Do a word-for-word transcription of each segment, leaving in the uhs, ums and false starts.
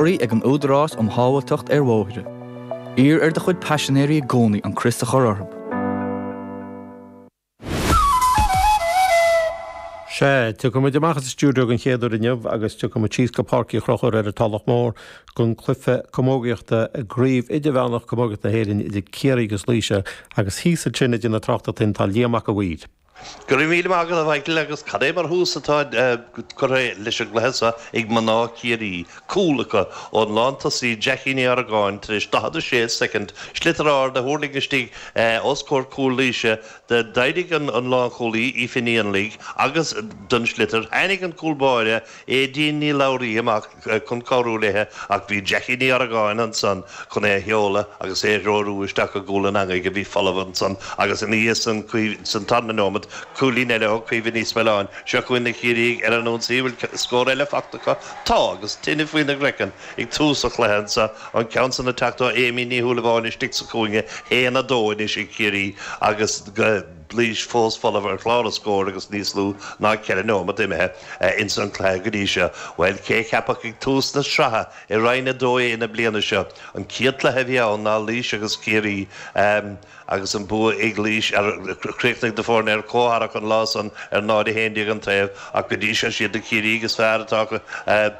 Ag an Údarás um Shábháilteacht ar Bhóithre. Iarr ar do chuid paisinéirí i gcónaí an crios a chur orthu. Sea, tiocfaidh muid amach as an stiúideo den chéad uair inniu agus tiocfaidh muid síos go Páirc Uí Chonchúir ar an Tulach Mhór don chluiche camógaíochta i gCraobh Idirmheánach Camógaíochta na hÉireann idir Ciarraí agus Laoise agus thíos ansin ag déanamh tráchtaireachta dúinn tá Liam Mac a' Mhaoir. Go raibh míle maith agat a Mhichael agus cad é mar thús atá curtha leis an gcluiche seo ag mná Chiarraí. Cúl acu ón lántosaí Jackie Ní Argáin tar éis daichead a sé soicind, sliotar ard a thuirling istigh os comhair cúl Laoise. D'éirigh an lánchúlaí Aoife Ní Fhionnlaigh agus don sliotar. Tháinig an cúl báire Aedín Ní Labhraí amach chun cabhrú léi ach bhí Jackie Ní Argáin ansan chun é a sheoladh agus é a threorú isteach i gcúl an eangaigh a bhí folamh ansan agus ina dhiaidh san san tarna nóiméad cúilín eile ó Caoimhe Ní Smealláin. Seo chugainn na Ciarraígh ar an ionsaí, bhfuil scór eile fachta acu? Tá agus tine faoina gcraiceann ag tús an chluiche anso, an ceann san ag teacht ó Amy Ní Shúilleabháin istigh sa chúinne, haon a dó anois ag Ciarraí agus Laois fós folamh ar chlár na scór agus níos lú ná ceithre nóiméad imithe ins an cluiche go dtí seo. Bhuel, cé a cheapfadh ag tús na sraithe i Roinn a dó A na bliana seo, an chéad cluiche a bhí ann ná Laois agus Ciarraí agus an bua ag Laois ar chríochnaigh na foirne ar comhtharrac an lá san ar náid a haon déag an taobh ach go dtí seo siad na Ciarraígh is fearr atá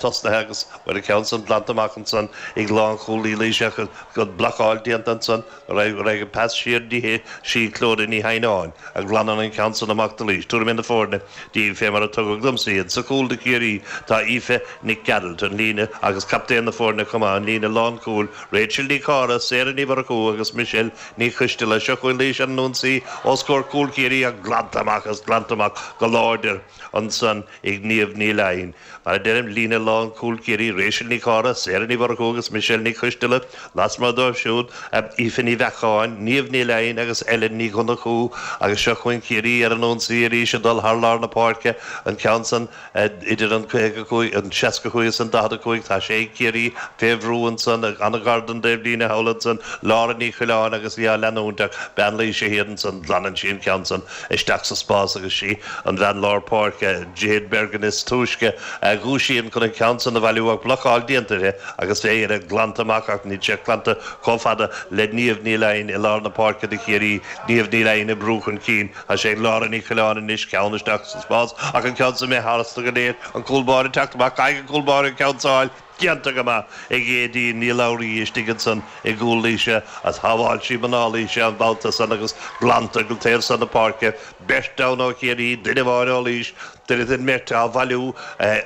tosnaithe agus bhuel an ceann san glanta amach ansan ag lánchúlaí Laoise ach an blocáil déanta ansan raibh an pas siar dtí sí Clodagh Ní Theimhneáin a ghlanann an ceann san amach do Laois. Tabharfaidh mé na foirne daoibh fé mar a tugadh domsa iad. Sa chúl do Chiarraí tá Aoife Nic Gearailt, an líne, agus captaen na foirne chomh maith, an líne lánchúil, Rachel Ní Charra, Sarah Ní Mhurchú agus Michelle Ní Choisteala. Seo chugainn Laois ar an ionsaí os comhair cúl Chiarraí ach glanta amach agus glanta amach go láidir ansan ag Niamh Ní Laighin. Mar a deirim, líne lánchúil Chiarraí, Rachel Ní Charra, Sarah Ní Mhurchú agus Michelle Ní Choisteala. Lasmuigh dóibh siúd, Aoife Ní Bheacháin, Niamh Ní Laighin agus Ellen Ní Dhonnchú agus seo chugainn Ciarraí ar an ionsaí arís ag dul thar lár na páirce, an ceann san idir an caoga cúig, an seasca cúig is an daichead a cúig. Tá sé ag Ciarraí fé bhrú ansan, an-ghar don dtaobhlíne thall ansan, Laura Ní Choileáin agus í á leanúint ach bean Laoise thiar ansan, glanann sí an ceann san isteach sa spás agus sí an bhean lár páirce, Jade Bergin is túisce a dhúisíonn chun an ceann san a bhailiú ach blocáil déanta uirthi agus é ar glanta amach ach níl sé glanta chomh fada le Niamh Ní Laighin i lár na páirce do Chiarraí, Niamh Ní Laighin ag brú chun cinn. Tá sé ag Laura Ní Choileáin anois, ceann isteach sa spás ach an ceann san imithe tharstu go léir, an cúl báire ag teacht amach, caithfidh an cúl báire an ceann seo a fháil. Déanta go maith ag Aedín Ní Labhraí istigh ansan i gcúl Laoise as shábháil sí mná Laoise an babhta san agus glanta go taobh san na páirce. Beirt ann ó Chiarraí, duine amháin ó Laois, duine den mbeirt á bhailiú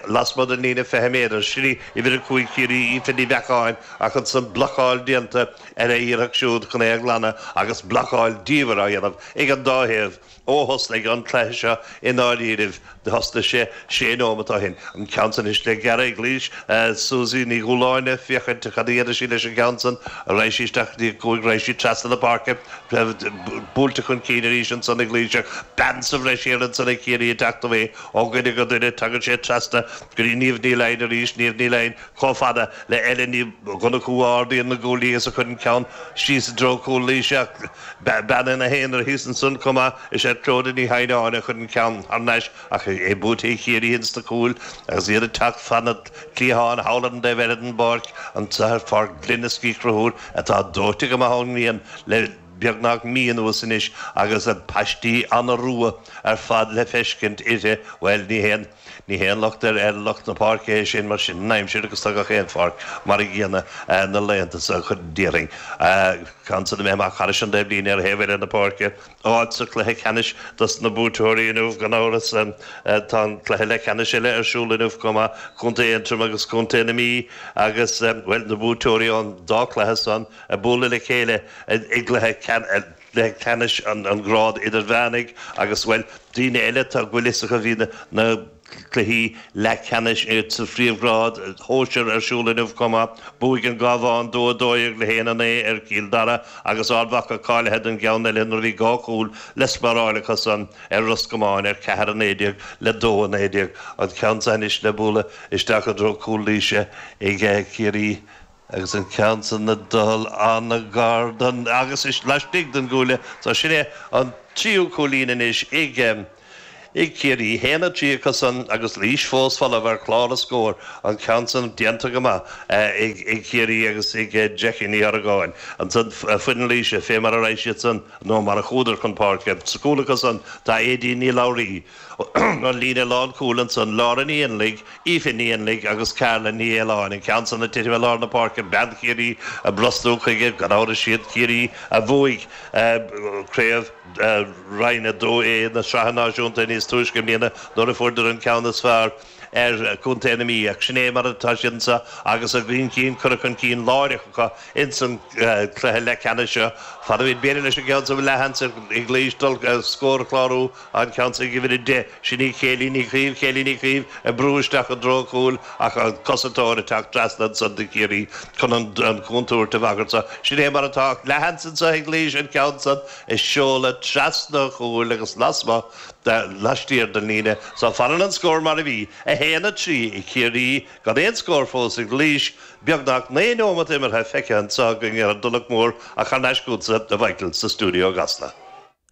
lasmuigh den líne fiche méadar. Sin í uimhir a cúig Chiarraí, Aoife Ní Bheacháin, ach ansan blocáil déanta ar a iarracht siúd chun é a ghlanadh agus blocáil diamhair á dhéanamh ag an dá thaobh. Ó thosnaigh an cluiche seo i ndáiríribh, thosnaigh sé sé nóimeat ó shin. An ceann san anois le gearradh ag Laois, Susie Ní Dhúláine, féachaint cad a dhéanfaidh sí leis an gceann san. Raghaidh sí isteach go dtí a cúig, raghaidh sí trasna na páirce, buailte chun cinn arís ansan ag Laois ach bean sa bhreis thiar ansan ag Ciarraí ag teacht away ó dhuine go duine. Tagann sé trasna go dtí Niamh Ní Laighin arís, Niamh Ní Laighin chomh fada le Ellen Ní Dhonnchú a ardaíonn na guaillí agus a chuireann ceann síos i dtreo cúl Laoise ach Bean ina haonar thíos ansan chomh maith is ea Clodagh Ní Theimhneáin a chuir an ceann thar n-ais ach é buaite ag Ciarraí ins na cúil agus iad ag teacht fan na cliatháin thall ar an dtaobh eile den bpáirc, anseo ar Pháirc Glenisk Uí Chonchúir atá dóite go maith ón ngrian le beagnach mí anuas anois agus paistí an-rua ar fad le feiscint uirthi, bhuel ní haon. Ní haon locht ar lucht na páirce é sin mar sin an aimsir agus tá gach aon pháirc mar a gcéanna na laethanta seo, déarfainn. Ceann san imithe amach thairis an dtaobhlíne ar thaobh eile na páirce. Áit sa chluiche ceannais dos na buaiteoirí inniu gan amhras. Tá an cluiche leathcheannais eile ar siúl inniu chomh maith, Contae Aontroim agus Contae na Mí agus, bhuel, na buaiteoirí ón dá chluiche san ag bualadh le chéile i gcluiche leathcheannais an ghráid idirmheánaigh agus, bhuel, daoine eile tá go bhfuil fhios acu, bhí na cluichí leathcheannais sa phríomhghrád shóisir ar siúl inniu chomh maith. Bhuaigh an Cabhán dó a dó dhéag le haon a naoi ar Chill Dara agus Ard Mhacha cáilithe don gceann eile nuair a bhí dhá chúl le spáráil acusan ar Ros Comáin ar ceathair a naoi déag le dó a naoi déag. An ceann seo anois le bualadh isteach i dtreo cúl Laoise ag Ciarraí. Agus an ceann san ag dul an-ghar don, agus laistigh den gcuaille. So sin é an tríú cúilín anois ag, ag Ciarraí, haon a trí acu san agus Laois fós folamh ar chlár na scór, an ceann san déanta go maith ag Ciarraí agus ag Jackie Ní Argáin. Ansan foireann Laoise fé mar a raibh siad san nó mar a chuadar chun páirce. Sa gcúl acu san tá Aedín Ní Labhraí, an líne lánchúil ansan, Laura Ní Fhionnlaigh, Aoife Ní Fhionnlaigh agus Carla Ní Fhaoláin. An ceann san ag titim i lár na páirce, bean Chiarraí ag brostú chuige, gan amhras siad Ciarraí a bhuaigh craobh Roinn a dó A na Sraithe Náisiúnta níos túisce i mbliana nuair a fuaireadar an ceann is fearr ar Chontae na Mí. Ach sin é mar atá siad anseo agus a gcinn cinn curtha chun cinn láithreach acu ins an cluiche leathcheannais seo. Fad a bhíonn b'fhéidir leis an gceann seo leathsheans ag Laois dul scór a chlárú, an ceann seo ag uimhir a deich, sin í Kayleigh Ní Chaoimh, Kayleigh Ní Chaoimh ag brú isteach i dtreo an chúil ach an cosantóir ag teacht trasna ansan do Chiarraí chun an chontúirt a bhagairt. So sin é mar atá ach leathsheans anseo ag Laois an ceann san a seoladh trasna an chúil agus lasmuigh laistiar den líne. So fanann an scór mar a bhí, a haon a trí ag Ciarraí, gan aon scór fós ag Laois. Beagnach naoi nóimeat imeartha feicthe anseo againn ar an dTulach Mhór ach thar n-ais chugatsa, a Mhichael, sa stiúideo i gCasla.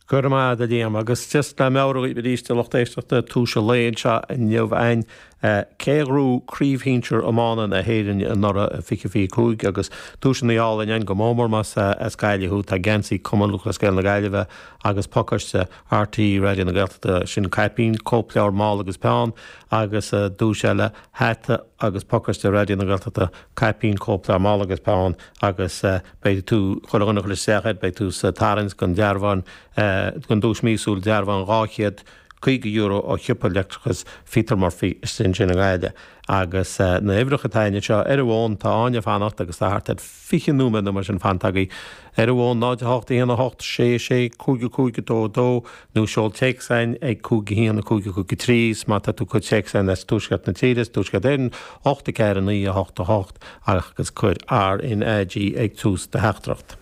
Go raibh maith agat a Liam, agus just le meabhrú dhaoibh arís a lucht éisteachta tús an lae anseo inniu againn cé a ghnóthaigh Craobh Shinsir Iomána na hÉireann anuraidh i fiche fiche cúig agus duaiseanna álainn ann go mór mór más as Gaillimh thú, tá geansaí Cumann Lúthchleas Gael na Gaillimhe agus pacáiste R T É Raidió na Gaeltachta, sin caipín, cóipleabhar, mála agus peann agus duais eile, hata agus pacáiste Raidió na Gaeltachta, caipín, cóipleabhar, mála agus peann agus beidh tú, chuile dhuine a chuir isteach air, beidh tú sa tarraingt don dearbhán, don duais míosúil dearbhán dhá chéad caoga euro ó shiopa leictreachais Pheter Murphy istigh ansin i nGaillimh. Agus na huimhreacha atá againn anseo ar an bhfón, tá Áine ag fanacht agus tá thart ar fiche nóiméad nó mar sin fanta agaibh. Ar an bhfón, náid a hocht, a haon a hocht, sé sé, cúig a cúig, a dó a dó, nó seol téacs againn ag cúig a haon, a cúig a cúig a trí, is má tá tú ag cur téacs againn as tuaisceart na tíre, as Tuaisceart Éireann, ocht a ceathair a naoi a hocht a hocht agus cuir R N A G ag tús do theachtaireacht.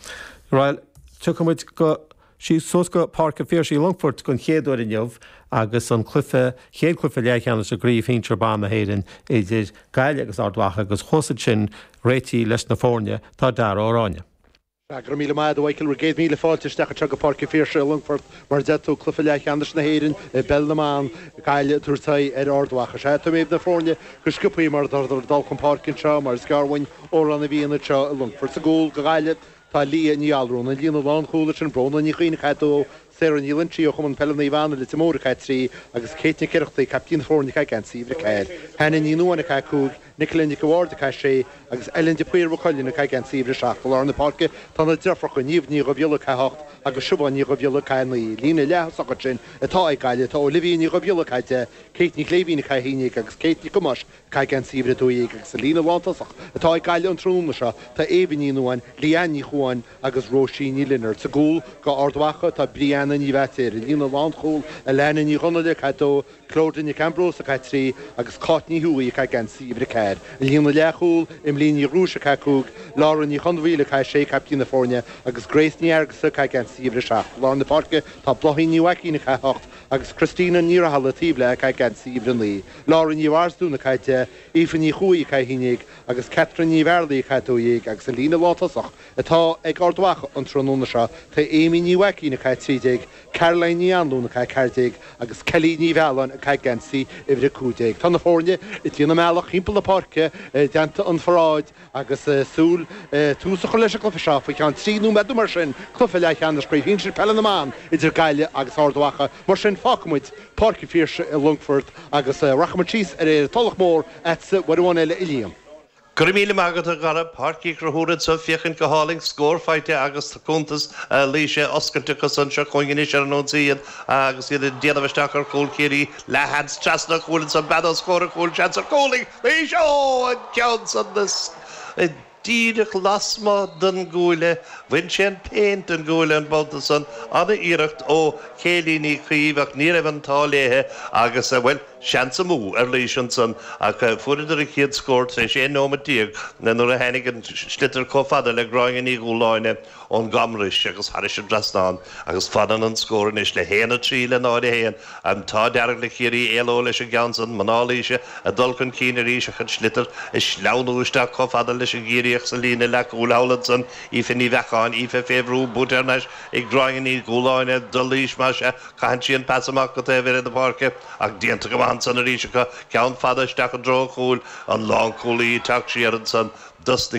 Bhuel, tiocfaidh muid go síos suas go Páirc an Phiarsaigh i Longfort don chéad uair inniu agus an cluiche, chéad chluiche leathcheannais i gCraobh Shinsir Ban na hÉireann idir Gaillimh agus Ard Mhacha agus thuas ansin réitithe leis na foirne tá Dara Ó Ráinne. Sea, go raibh míle maith agat, a Mhichael, bhur gcéad míle fáilte isteach anseo go Páirc an Phiarsaigh i Longfort. Mar a deir tú, cluiche leathcheannais na hÉireann i bpeil na mban, Gaillimh ag tabhairt aghaidh ar Ard Mhacha. Sea, tá mé na foirne go sciobtha mar atá ag dul chun páirce anseo, mar is gearr uainn Amhrán na bhFiann anseo i Longfort. Sa gcúl do Ghaillimh, tá Leah Ní Allrúin, an líne lánchúil ansin, Bróna Ní Chuinn ag a dó, Sarah Ní Loinsigh ó Chumann Peile Naomh Anna, Leitir Móir ag a trí, agus Kate Nic Oireachtaigh, caiptín na foirne ag caitheamh geansaí uimhir a ceathair. Hannah Ní Nuadháin ag a cúig, Nicola Nic an Bhaird ag a sé, agus Ellen de Paor Mhaigh Cuilinn ag caitheamh geansaí uimhir a seacht. I lár na páirce tá na deirfiúracha, Niamh Ní Dhubhghiolla ag a hocht agus Siobhán Ní Dhubhghiolla ag a naoi. Líne leath-thosach ansin atá ag Gaillimh, tá Olivia Ní Dhubhghiolla ag a deich, Kate Ní Chléibhín ag a haon déag agus Kate Nic Thomáis ag caitheamh geansaí uimhir a dó dhéag agus sa líne lántosach atá ag Gaillimh an tráthnóna seo tá Éabha Ní Nuadháin, Leanne Ní Chuáin agus Róisín Ní Lionáird. Sa gcúl do Ard Mhacha tá Brianna Ní Bhaitéir, an líne lánchúil Alana Ní Dhonnaile ag a dó, Clodagh Nic Ambrose ag a trí agus Cáit Ní Thuaidh ag caitheamh geansaí uimhir a ceathair. An líne leathchúil Emily Ní Ghrúis ag a cúig, Laura Ní Chonmhaoil ag a sé, caiptín na foirne, agus Grace Ní Fhearghusa ag caitheamh geansaí uimhir a seacht. I lár na páirce tá Bláithín Ní Mhaicín ag a hocht agus Christina Ní Rathaille taobh léi ag caitheamh geansaí uimhir a naoi, Laura Ní Mharsdún ag a deich, Aoife Ní Chuaig ag a haon déag agus Catherine Ní Bhearlaí ag a dó dhéag agus an líne lántosach atá ag Ard Mhacha an tráthnóna seo tá Amy Ní Mhaicín ag a trí déag, Caroline Ní Anluain ag a ceathair déag agus Kelly Ní Mhealláin ag caitheamh geansaí uimhir a cúig déag. Tá na foirne ag déanamh a mbealach thimpeall na páirce i dteannta an pharáid agus súil tús a chur leis an gcluiche seo faoi cheann trí nóiméad nó mar sin, cluiche leathcheannais Chraobh Shinsir Peile na mBan idir Gaillimh agus Ard Mhacha. Mar sin fágfaimid Páirc an Phiarsaigh i Longfort agus rachaimid síos ar an Tulach Mhór agatsa uair amháin eile, a Liam. Go raibh míle maith agat, a Dhara. Páirc Uí Chonchúir anseo féachaint go hálainn, scór faighte agus cuntas Laoise oscailte acu anseo chugainn anois ar an ionsaí iad agus iad ag déanamh isteach ar chúl Chiarraí. Leathsheans trasna an chúil ansan, bean os comhair an chúil, seans ar chúl ag Laois! Ó, an ceann san díreach lasmuigh den gcuaille, bhain sé an péint den gcuaille an babhta san, an-iarracht ó Chéilí Ní Chaoimh ach ní raibh an t-ádh léithe agus, bhuel, Seans amú ar Laois ansan ach fuaireadar an chéad scór tar éis aon nóiméad déag nuair a tháinig an sliotar chomh fada le Gráinne Ní Dhúláine ón gCamrais agus thairis an dtrasnán agus fanann an scór anois le haon a trí le náid a haon. An t-ádh dearg le Ciarraí éaló leis an gceann san, mná Laoise ag dul chun cinn arís ach an sliotar ag sleamhnú isteach chomh fada leis an gCiarraíoch sa líne leathchúil thall ansan, Aoife Ní Bheacháin, Aoife fé bhrú, buaite thar n-ais ag Gráinne Ní Dhúláine do Laois más ea, caitheann sí an pas amach go taobh thoir de na páirce ach déanta go maith ansan arís acu, ceann fada isteach i dtreo an chúil, an lánchúlaí ag teacht siar ansan dos na.